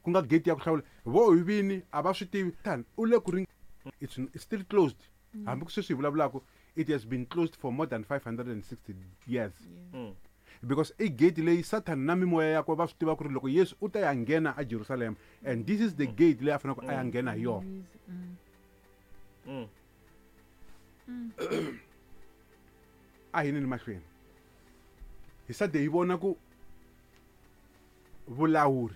Ku nga gate ya ku hlawula vo hi vini a va swi tivi tani u le ku ri it's still closed. Hambi ku sweswi hi vulavulaka, it has been closed for more than 560 years. Because i gate leyi Satan na mimoya yakwe va swi tiva ku ri loko Yesu u ta ya nghena a Jerusalem, and this is the gate leyi a faneleke a ya nghena hi yona. A hi nini mahlweni hi sade hi vona ku vulawuri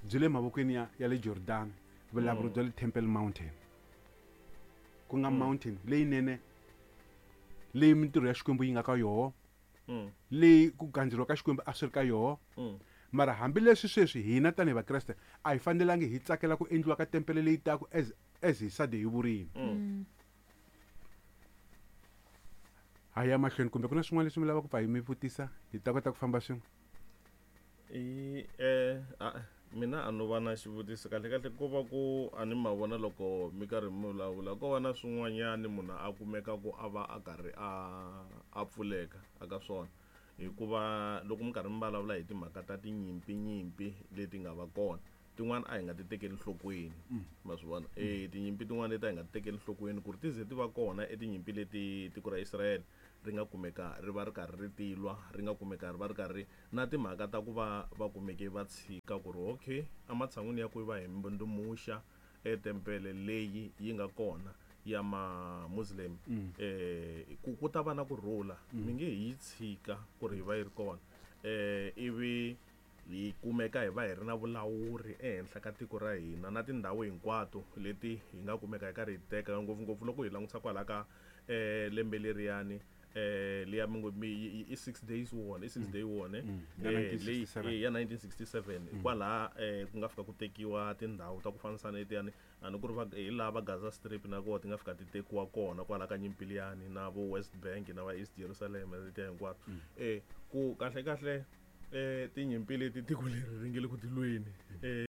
byi le mavokweni ya le Jordan, vulawuri bya le Temple Mountain, ku nga mountain leyinene leyi mintirho ya Xikwembu yi nga ka yoho, leyi ku gandzeriwa ka Xikwembu a swi ri ka yoho. Mara hambileswi sweswi hina tanihi Vakreste a hi fanelangi hi tsakela ku endliwa ka tempele leyi taku as hi sade hi vurini. Ha ya mahlweni, kumbe ku na swin'wana leswi mi lavaka ku pfa hi mi vutisa hi ta kota ku famba swin'we? Mina a no va na xivutiso kahle kahle, ko va ku a ni ma vona loko mi karhi mi vulavula, ko va na swin'wanyani munhu a kumeka ku a va a karhi a pfuleka aka swona, hikuva loko mi karhi mi vulavula hi timhaka ta tinyimpi nyimpi leti nga va kona, tin'wana a hi nga ti tekeli nhlokweni. Ma swi vona, tinyimpi tin'wana leti a hi nga ti tekeli nhlokweni ku ri ti ze ti va kona, i tinyimpi leti tiko ra Israel ri nga kumeka ri va ri karhi ri tilwa, ri nga kumeka ri va ri karhi na timhaka ta ku va va kumeke va tshika ku ri okay, ematshan'wini ya ku va hi mbundzumuxa etempele leyi yi nga kona ya ma-Muslim, ku ta va na kurhula, mi nge hi yi tshika ku ri hi va yi ri kona, ivi hi kumeka hi va hi ri na vulawuri ehenhla ka tiko ra hina na tindhawu hinkwato leti hi nga kumeka hi karhi hi teka, ngopfungopfu loko hi langutisa kwala ka lembe leriyani, liya mi ngo i 6 days war, i 6 day war ne? Ya leyi 1967. Ya 1967, kwalaha ku nga fika ku tekiwa tindhawu ta ku fanisa na letiyani, a ni ku ri hi laha va Gaza Strip na koho ti nga fika ti tekiwa kona kwala ka nyimpi liyani, na vo West Bank na va East Jerusalem letiya hinkwato. Ku kahle kahle tinyimpi leti tiko leri ri nge le ku tilweni.